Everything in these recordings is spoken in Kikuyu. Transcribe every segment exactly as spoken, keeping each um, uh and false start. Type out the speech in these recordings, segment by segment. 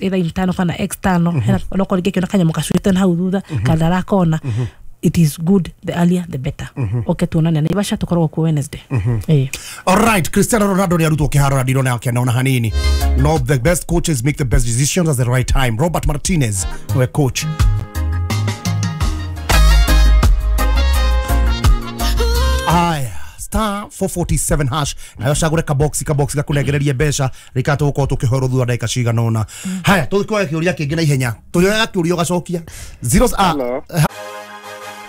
Either internal kana external, hena no korwo rĩngĩ akĩona kanyamũ gacuĩte na hau thutha kana ndarakona. It is good, the earlier the better. Oke tuonane Naivasha, tũkoragwo kuo Wednesday. Eh. Alright, Cristiano Ronaldo nĩ arutwo kĩharo na ndirona akĩona ona hanini. No, the best coaches make the best decisions at the right time. Robert Martinez nĩwe coach. Aya, star four forty-seven hash, nayo cagũre kaboxi kaboxi gakũnengererie mbeca rĩka tũgũkorwo tũkĩhorwo thutha ndagĩka cigana ũna. Haya, tũgĩkoya kĩũria kĩngĩ na ihenya, tũrĩoyaga kĩũria ũgacokia zero ah. Hello.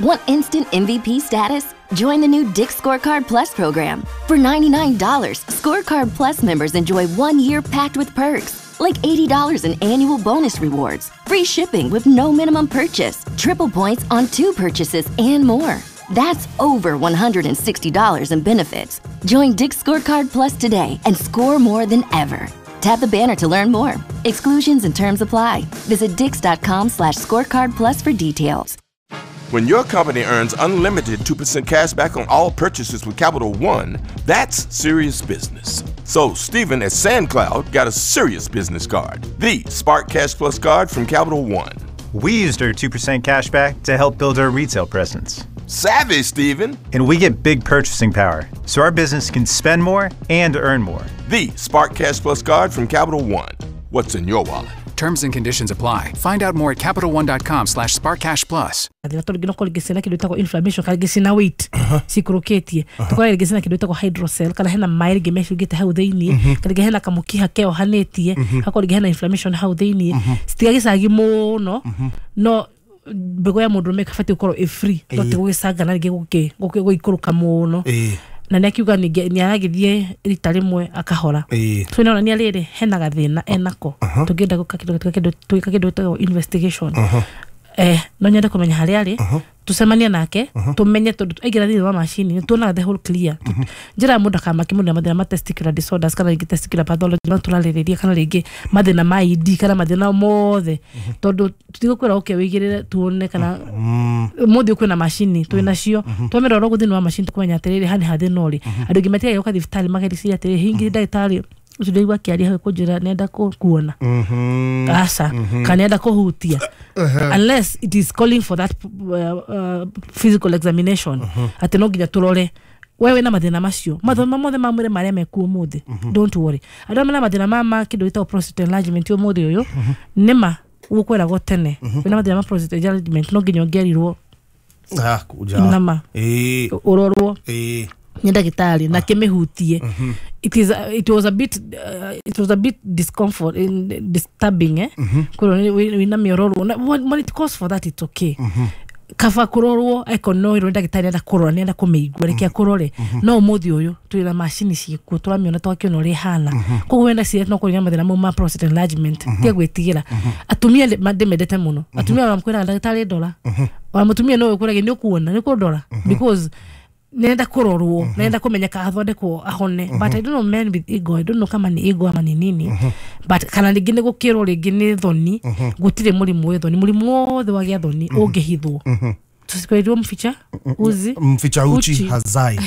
Want instant M V P status? Join the new Dick's Scorecard Plus program. For ninety-nine dollars Scorecard Plus members enjoy one year packed with perks, like eighty dollars in annual bonus rewards, free shipping with no minimum purchase, triple points on two purchases, and more. That's over one hundred sixty dollars in benefits. Join Dick's Scorecard Plus today and score more than ever. Tap the banner to learn more. Exclusions and terms apply. Visit dicks dot com slash scorecard plus for details. When your company earns unlimited two percent cash back on all purchases with Capital One, that's serious business. So Stephen at SandCloud got a serious business card, the Spark Cash Plus card from Capital One. We used our two percent cash back to help build our retail presence. Savvy, Stephen. And we get big purchasing power, so our business can spend more and earn more. The Spark Cash Plus card from Capital One. What's in your wallet? Terms and conditions apply. Find out more at Capital One dot com slash SparkCashPlus. Thĩna tondũ rĩngĩ no korwo rĩngĩ ciĩna kĩndũ gĩtagwo inflammation kana rĩngĩ ciĩna weight cikũrũkĩtie, tũkora rĩngĩ ciĩna kĩndũ gĩtagwo hydrocele kana hena maĩ rĩngĩ mecungĩte hau thĩiniĩ, kana rĩngĩ hena kamũkiha keohanĩtie, hakorwo rĩngĩ hena inflammation hau thĩiniĩ. Citigagĩcagi mũno, no mbegũ ya mũndũrũme ĩbatiĩ gũkorwo ĩ free, no ti gũgĩcangana rĩngĩ gũkĩ- gũkĩ- gũikũrũka mũno. Ĩĩ. Na nĩ akiuga ningĩ nĩ aragĩthiĩ rita rĩmwe akahora. Ĩĩ. So nĩ rĩrĩ hena gathĩna enako tũngĩenda gwĩka kĩndũ kĩndũ twĩka kĩndũ gĩtagwo investigation. eh no nyende kũmenya harĩa arĩ, tũcemanie nake, tũmenye, tondũ aingĩra thĩinĩ wa macini nĩ tuonaga the whole clear. Njĩra ya mũndũ akamaki mũndũ na mathĩna ma testicular disorders kana rĩngĩ testicular pathology ma tũrarĩrĩria, kana rĩngĩ mathĩna ma E D kana mathĩna mothe, tondũ tũtigũkwĩra ũke wĩigĩrĩre tuone kana mũthĩ kwĩna macini twĩ nacio, twamĩrora ũguo thĩinĩ wa macini tũkũmenya atĩrĩrĩ haha nĩ hathĩna ũrĩ. Andũ aingĩ matigaga gũka thibitarĩ magericiria atĩrĩrĩ, hingi ndagĩtarĩ ũcio ndaigua akĩaria hau kũnjĩra nĩenda kũ- kuona aca kana nĩenda kũhutia, unless it is calling for that uh, uh, physical examination, atĩ no nginya tũrore we wĩna mathĩna macio mathoma mothe ma mwĩrĩ marĩa mekuo ũmũthĩ. Don't worry, andũ arĩa mena mathĩna ma ma kĩndũ gĩtagwo prostate enlargement ũmũthĩ ũyũ nĩma gũkwĩragwo tene wĩna mathĩna ma prostate enlargement no nginya ũngĩerirwo Ah, kuja. Nama. Ĩĩ. Ũrorwo Ĩĩ. nĩ ndagĩtarĩ na kĩmĩhutie. it is it was a bit uh, it was a bit discomfort in, disturbing, eh kwĩrwo wĩna mĩororwo. Na when when it calls for that, it's okay. Kaba kũrorwo eko no ĩrwo ndagĩtarĩ nĩenda kũrora, nĩenda kũmĩigua, reke akũrore. No ũmũthĩ ũyũ twĩna macini ciĩkuo, tũramĩona, twakĩona ũrĩa ĩhana. Koguo wenda ciĩ no kũrĩ na mathĩna mau ma prostate enlargement, tiga gwĩtigĩra. Atumia ndĩ- ma- ndĩmendete mũno atumia, ona kwĩraga ndagĩtarĩ ndora, ona mũtumia no ũkwĩrage nĩ ũkuona nĩ ũkũndora because nenda kũrorwo, nenda kũmenyeka athondekwo ahone. But I don't know, men with ego, I don't know kama ni ego ama ni nini, but kana rĩngĩ nĩ gũkĩrwo rĩngĩ nĩ thoni. Gũtirĩ mũrimũ wĩ thoni, mũrimũ wothe wagĩa thoni ũngĩhithwo. Tusikwĩrwo mficha uzi Mficha uchi Uchi. hazai.